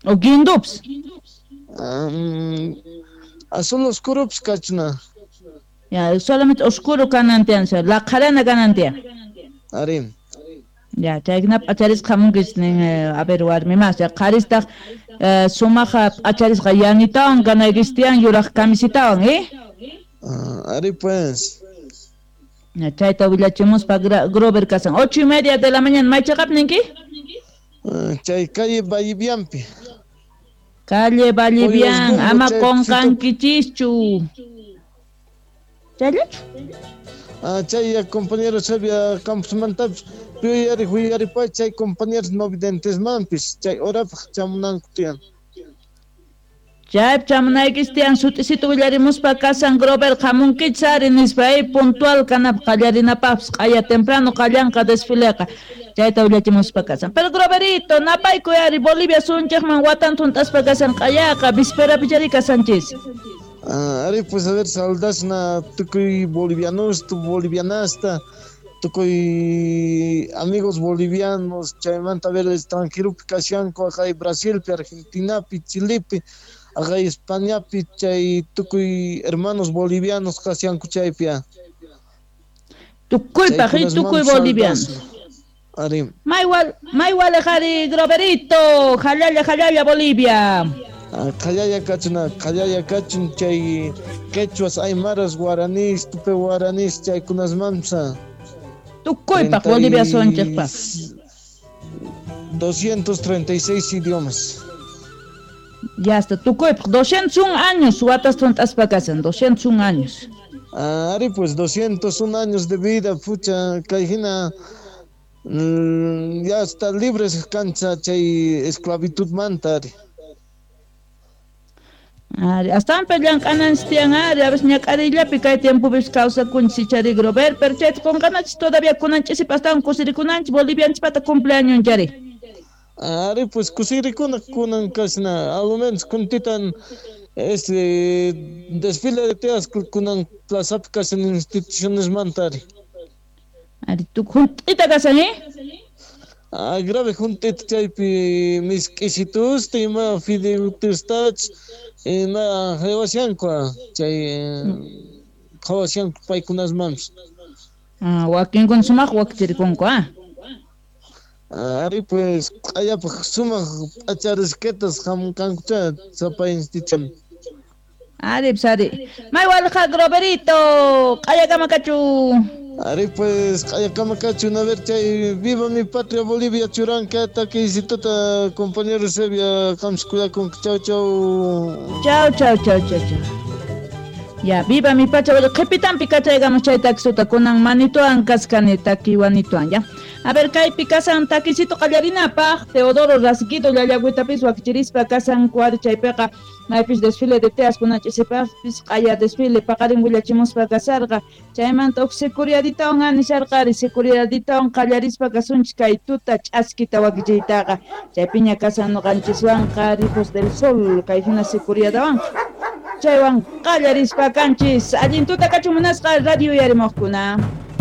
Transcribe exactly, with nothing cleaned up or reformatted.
O guindups. Um, azul oscuro kachna. Ya, solamente oscuro kanan tiyan, laqharana kanan tiyan. Ari. Ya, chaykuna p'acharisqa hamunkichis nin, a ver warmi mas, ya qharistaq sumaqa p'acharisqa yanitawan kanaykichis tiyan yuraq camisitawan, eh? Uh, ari pues. Ya, chayta willachimuspa Grover kasan. Ocho y media de la mañana, maychaqap ninki? Uh, chay calle Vallivianpi. Calle Vallivian, ama qunqankichischu. Chayllachu? Ah, chay compañero Xavier Campos Puyari huyari pa chay compañeros no videntesmanpis chay horapaq chamunanku tiyan. Chay chamunaykis tiyan sut'isito willarimuspa kasan Grover hamunkichis ari nispa ay puntual kanapaq qallarinapaqpis q'aya temprano qallanqa desfileqa chayta willachimuspa kasan. Pero Groverito napaykuy ari Bolivia sunchaqman watan thunt'aspa kasan q'ayaqa visperapi chari kasanchis. Ah, ari pues a ver saludas-na tukuy bolivianos tu bolivianasta tukuy amigos bolivianos chaymanta a ver extranjeropi kashanku aqay Brasilpi Argentinapi Chilepi aqay Españapi chay tukuy hermanos bolivianos kashanku chaypi. Tukuypaq y tukuy bolivianos. Ari. Maywal maywal qari Groverito, jalalla jalalla Bolivia. Qallalla kachuna, qallalla kachun chay quechuas, aymaras, guaraníes, tupe guaraníes, chaykunasmansa. Tukuypaq Bolivia sonchaqpaq. doscientos treinta y seis idiomas. Ya está, tukuypaq doscientos un años watas thunt'aspa kasan, doscientos un años. Ah, ari pues doscientos un años de vida, pucha, kayhina mm, ya está libres cancha chay esclavitud manta ari. Ari, astawan llank'ananchis tiyan ari, a veces ñak'arillapi kay tiempopis kawsakunchis ichari Grover, pero chayta qunqanachis todavía kunanchisipi astawan kusirikunanchis Bolivianchispata cumpleaños chari. Ari pues kusirikuna kunan kasna, a lo menos kuntitan este desfile de teas kunan plazapi kasan instituciones manta ari. Ari, tu junt'ita kasan, eh? Ah, grave junt'ita chaypi misk'isitusta ima fideutustach ima qhawashanku chay qhawashanku paykunasmanpis. Ah, wakinkuna sumaq wakichirikunku, ah. Ari pues q'ayapaq sumaq p'acharisqatas hamunkankucha sapa institución. Ari pues ari. Maywalqa Groverito, q'ayakama kachu. Ari pues q'ayakama kachu, a ver chay viva mi patria Bolivia churanka takisituta compañero Eusebia qamsi kuyakunki. Chau chau. Chau chau chau chau chau. Ya, viva mi patria Bolivia. Qhipitanpi kachaygamos chay takisuta kunan manituan kaskani takiwanituan ya. A ver, kaypi kasan takisito qallarinapaq Teodoro Rasguido llallagüitapis wakichirispa kasan kuari chaypiqa maypis desfile de teas kunachisipaqpis q'aya desfile paqarin willachimuspa kasarqa chaymanta huk securiaditawan anisharqari securiaditawan qallarispa kasunchis kay tuta ch'askita wakichiytaqa chaypiña kasan nuqanchiswanqa Hijos del Sol kay hina securiadawan chaywan qallarispa kanchis allin tuta kachun munasqa radio uyarimuqkuna.